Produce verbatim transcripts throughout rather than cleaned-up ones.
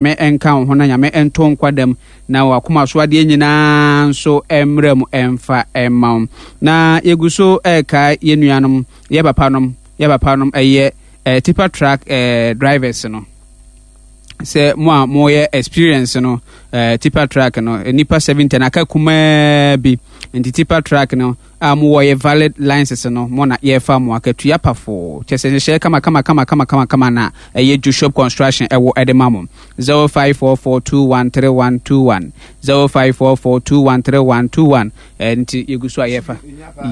Nyame nka wo ho na Nyame nto nkwa dam na wakoma so adeɛ nyinaa nso mmerɛ mu ɛmfa ɛma wo. Na yɛgu so ɛreka yɛ nuanom, yɛ papanom, yɛ papanom ɛyɛ eh, tipper truck eh, drivers no sɛ mo a moyɛ experience no eh, tipper truck no nipa seventy na aka kumaa bi nti tipper truck no a mowɔ yɛ valid licenses no mo na yɛfa mo akatua pafoo kyɛ sɛ nhyehyɛeɛ kama kama kama kama kama kama na ɛyɛ Joshua Construction ɛwɔ ɛde ma mo zero five four four two one three one two one zero five four four two one three one two one nti yɛgu so a yɛfa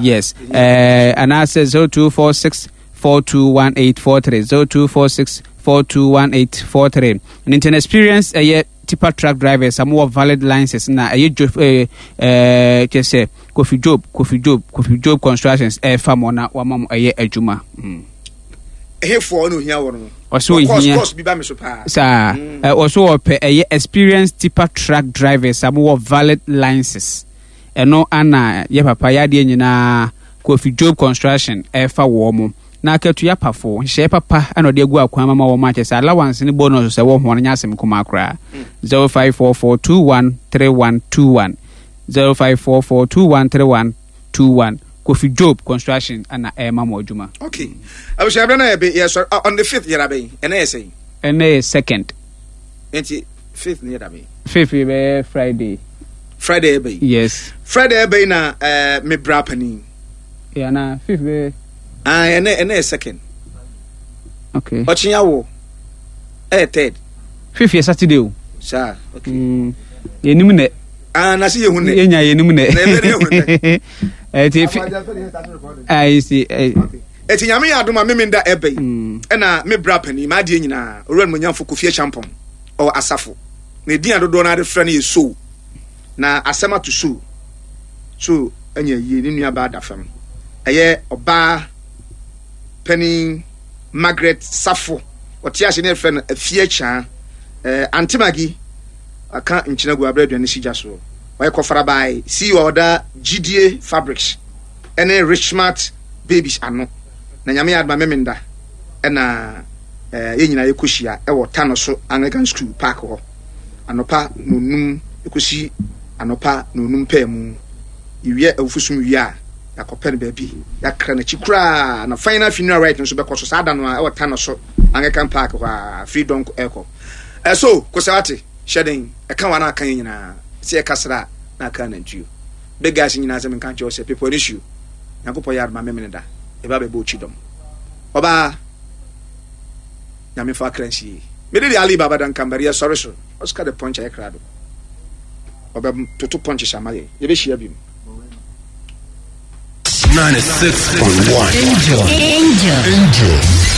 yes ɛɛ anaasɛ zero two four six four two one eight four three zero two four six four two one eight four three ne nti experience ɛyɛ tipper truck drivers a mowɔ valid licenses na ɛyɛ jo ɛɛ ɛɛ kyɛ sɛ Kofi Job Kofi Job Kofi Job Constructions ɛɛfa mo na wama mo ɛyɛ adwuma. Mm. Ɛhefoɔ na ohia wɔn no. Ɔsɛ ohia course bi ba mi so paa. Saa mm. ɔsɛ ɔpɛ ɛyɛ experienced tipper truck drivers a mowɔ valid licenses ɛno ana yɛ papa yɛ adeɛ nyinaa Kofi Job Construction ɛɛfa wɔn mo. Na akatua pafo, nhyehyɛe papa na ɔde agu akwan mu ama wɔn akyɛ sɛ allowance ne bonus sɛ wɔ ho no nyɛ asɛm kumaa koraa. zero five four four two one three one two one zero five four four two one three one two one Kofi Job Construction na ɛrema mo adwuma. Okay. Abusua bɛ na yɛ bɛ yɛ sɔrɔ ah, on the fifth yɛrɛ abɛn ɛnɛ yɛ sɛn. Ɛnɛ yɛ second. Nti fifth ni yɛ dabɛn. Fifth yɛ bɛyɛ Friday. Friday yɛ bɛyi. Yes. Friday yɛ bɛyi na ɛɛ eh, me bra panin. Yeah, na fifth bɛyɛ. Ah, ɛnɛ ɛnɛ yɛ second. Okay. Ɔkye awo ɛyɛ third. Fifth yɛ Saturday o. Saa, okay. Mm. Yɛnim nɛ. Ah, na se yɛhu nɛ. Yɛnya yɛnim nɛ. Na ɛbɛ ne yɛhu nɛ. Ɛti fi. Ayi si. Ɛti nyame yɛ adom a meme nda ɛbɛ yi. Mm. Ɛna me bra panin m'adeɛ nyinaa owura no monyamfo Kofi Acheampong ɔwɔ asafo. Na edin a dodoɔ no ara de frɛ no yɛ Sow. Na asɛm ato Sow. So anya yie ne nuabaa da fam. Ɛyɛ ɔbaa panin Margaret Safo. Ɔte ase ne yɛfrɛ no Afie Akyaa. Eh, Ante Maggie aka nkyena gu abrɛ aduane si gya soɔ. Ɔyɛ kɔfarabae C E O a ɔda Gyidie Fabrics ɛne Richmart Babies ano. Na Nyame yɛ adoma Memenda ɛna eh, yɛn nyinaa yɛkɔhyia ɛwɔ Tano so Anglican School Park hɔ anɔpa nonum ɛkɔsi anɔpa nonum pɛɛ mu. Yɛwie awufosom wie a, yɛakɔpɛ no baabi, yɛakra n'akyi koraa. Na final funeral rite nso bɛkɔ so saa da no a ɛwɔ Tano so Anglican Park hɔ a, firi dɔnko ɛkɔ. Ɛso, Kosawate, hyɛ den, ɛka wa na aka yɛn nyinaa, sɛ yɛka sra a, na aka anantuo. Big guys nyinaa sɛ menka nkyerɛ wo sɛ, Pepɔ ne suo, Nyankopɔn yɛ adom a memene da, yɛba bɛbɔ okyi dɔm. Ɔbaa, Nyame fa akra nsie. Mede de Ali Baba Dankambari yɛsɔre so, Oscar the Punch ayɛ krado. Ɔbɛtoto punches ama yɛn. Yɛbɛhyia biom. ninety-six point one. Angel. Angel. Angel.